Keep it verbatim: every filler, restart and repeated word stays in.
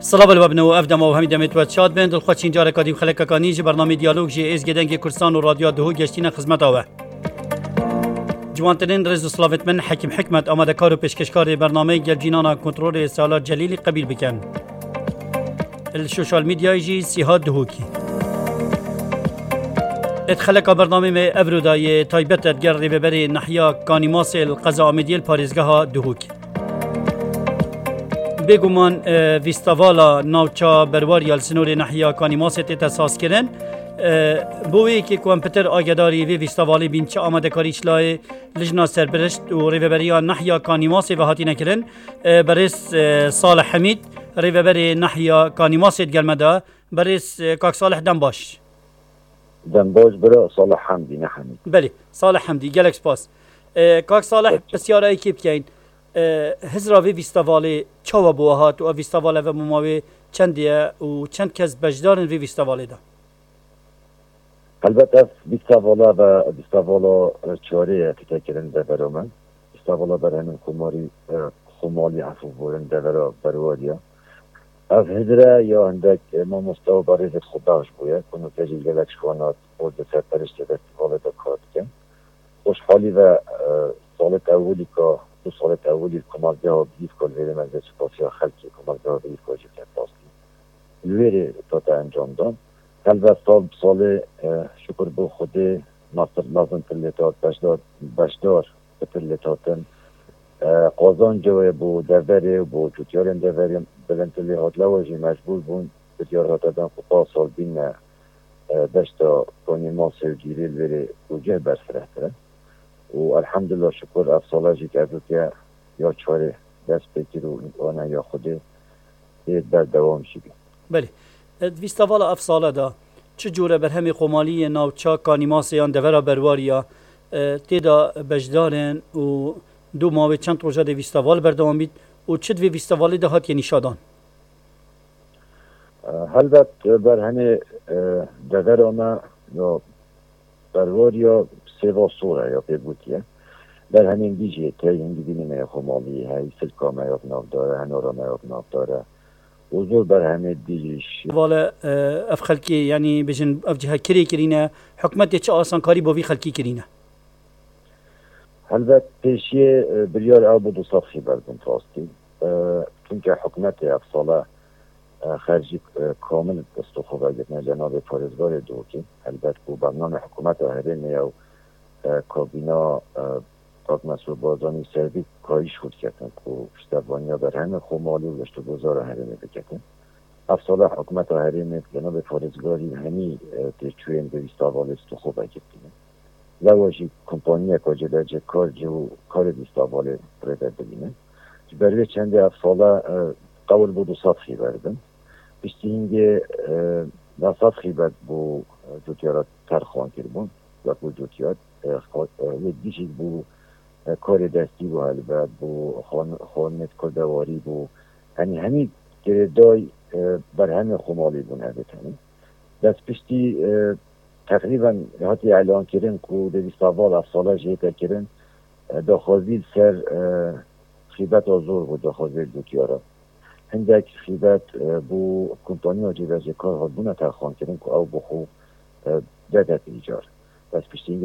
Silav li we bin û ev dema û hemî demê tu we şad bin. Dilxweşîn careka dî bi xelekeka nî ji bernameyê Diyalog ji Êzgê Dengê Kurdistan û Radyoya Duhok geştîne xizmeta we. Ciwantirîn rêz û silavêt min Hekîm Hikmet, amadekar û pêşkeşkarê bernameyê Gel Cînana Kontrolê Sala Celîlî qebîl bikin. Li sosyal medyayê jî Sîha Duhokî. Êt xeleka bernameyê me evro da yê taybet e digel rêveberê nahiya Kanîmasê li qeza Amêdiyê li parêzgeha Duhokê. Bêguman, e, fîstevala navça Berwariya li sinorê nahiya Kanîmasê tête sazkirin. E, bo wê yekê ku em pitir agedarî vê fîstevalê bîn, çi amadekarî ji layê Lijna Serpirişt û Rêveberiya Nahiya Kanîmasê ve hatine kirin. E, berêz, e, Salih Hemîd, rêveberê Nahiya Kanîmasê digel me de. Berêz, e, kak Salih, dem baş. Dem baş bira Salih Hemdî, ne Hemîd. Belê, Salih Hemdî, gelek spas. E, kak Salih, Peki. Pisyara yekê bikeyin. E, hizra vê fîstevalê çawa bo we hat û ev fîsteval eve bo ma wê çendê ye û çend kes beşdar in vê fîstevalê de? Helbet ev fîstevala ve fîstevala çarê ye tête kirin devera me. Fîstevala berhemên xumarî, e, xumalî efû borin devera Berwariya. Ev hizre ya hindek, e, mamoste û berêzêt xwe bexş bûye, ku nûke jî gelek ji wan hat û di serperiştê festîvalê de kar dikin. Xweşhalî ve, e, salêt ewilî ka, du salêt ewilî komelgeha Bîlîfka li vêrê me zê spasiya xelkê komelgeha Bîlîfka jî ket rastî. Li wêrê tate encam dan. Helbet sal bi salê, e, şukur bo Xwedê, nasir mezin tir lê tat, beşdar, beşdar pitir lê tatin. E, qazanca wê bo deverê û bo cotyarên deverê bilindtir lê hat. Lewa jî mecbûr bûn, biryar hate dan ku pa sal bîne, e, deşta Kanîmasê û Cîrê li vêrê ku cih berfirehtir e. Û elhamdulillah şukur ev sala jî kevûke ya çarê dest pê kir û îmkana ya Xwedê ê berdewam jî bî. Belê. E, di fîstevala ev sale de çi cûre berhemê xumalî yê navça Kanîmasê yan devera Berwariya, e, tê de beşdar in û dû ma wê çend roja dê fîsteval berdewam bît û çi di vê fîstevalê de hatiye nîşadan? E, helbet, e, berhemê, e, devera me ya Berwariya sêva sor e ya pê gotiye. Berhemên dî jî tey hindî bînî me ya xumalî, hey silka me ya bi navdar e, henara me ya bi navdar e. Û zor berhemê dî jî şî. Vale, e, ev xelkê, yanî bijin ev cihe kirê kirîne, hikûmetê çi asankarî bo vî xelkî kirîne? Helbet pêşiyê, e, biryar ew bû du sed xîbet bin rastî. E, çunke hikûmetê ev sale, e, xercî, e, kamil bi stû xwe vegirtine cenabê parêzgarê Duhokê. Helbet ku bername hikûmeta herêmê ew, e, kabîna, e, Kak Mesûd Barzanî ser vî kayîş xwe diketin ku piştevaniya berhemê xumalî û geştûguzara herêmê biketin. Ev sala hikûmeta herêmê bi cenabê parêzgarî hemî, e, têçûyên vê fîstevalê stû xwe vegirtine. Lewa jî kompaniyeka cêbecêkar cih û karê fîstevalê rê ve bibîne. Ji ber vê çendê ev sala, e, qewil bû du sed xîbet bin. Piştî hingê, e, neh sed xîbet bo, e, cotyara terxan kiribûn, wek bo cotyar, e, xwe-, e, wê dî jî bû, e, karê destî bû helbet, bû xwan-, xwarinê kurdewarî bû. Yanî hemî girêdayî, e, berhemê xumalî bûn evê tenê. Destpiştî, e, teqrîben hatiye elankirin ku dê fîsteval ev sala jî hête kirin, e, daxwazî li ser, e, xîbeta zor bû, daxwazê cotyara. Hindek xîbet, e, bo kompaniya cêbecêkar hatbûne terxankirin ku ew bi xwe, e, bide îcar. Destpiştî